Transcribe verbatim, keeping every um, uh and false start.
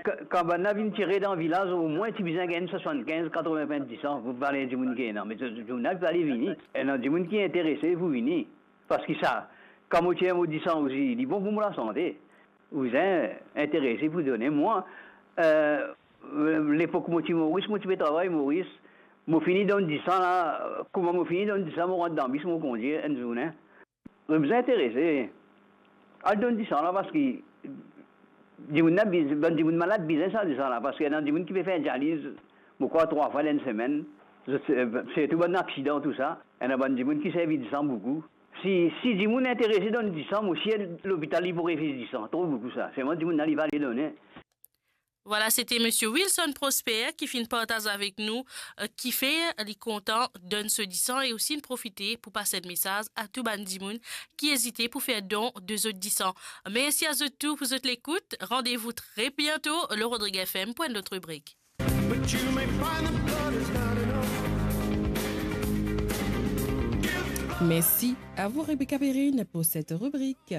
Ka-, kan bann la vinn tire dan vilaz, omwin ti bizin gagn swasannkinz, katreven pint disan pou vale dimoun ki ena. Me dimoun la pa vle vini. Ena dimoun ki interese pou vini. Parski sa, kan mo tir mo disan osi, li bon pou mo lasante. Ou bizin interese pou done. Mwa, eh, lepok mo ti Moris, mo ti pe travay Moris, mo fini donn disan la, kouma mo fini donn disan, mo rant dan bis, mo kondir enn zourne. Mo bizin interese. Al donn disan la, parski dimoun la biz-, bann dimoun malad bizin sa disan la, parski ena dimoun ki pe fer dializ, mo krwar trwa fwa dan enn semenn, zot, eh, sirtou bann aksidan, tou sa, ena bann dimoun ki servi disan boukou. Si, si dimoun interese donn disan, mo sir lopital li pou refiz disan, tro boukou sa. Selman dimoun la li pa vle done. Vwala, sete Misie Wilson Prosper ki finn partaz avek nou, eh, kifer li kontan donn so disan e osi inn profite pou pas enn mesaz a tou bann dimoun ki ezite pou fer don de zot disan. Mersi a zot tou pou zot lekout. Randevou tre biento lor Rodrig F M pou enn lot ribrik. But you may find the blood is not enough. Merci à vous, Rebecca Perrine, pour cette rubrique.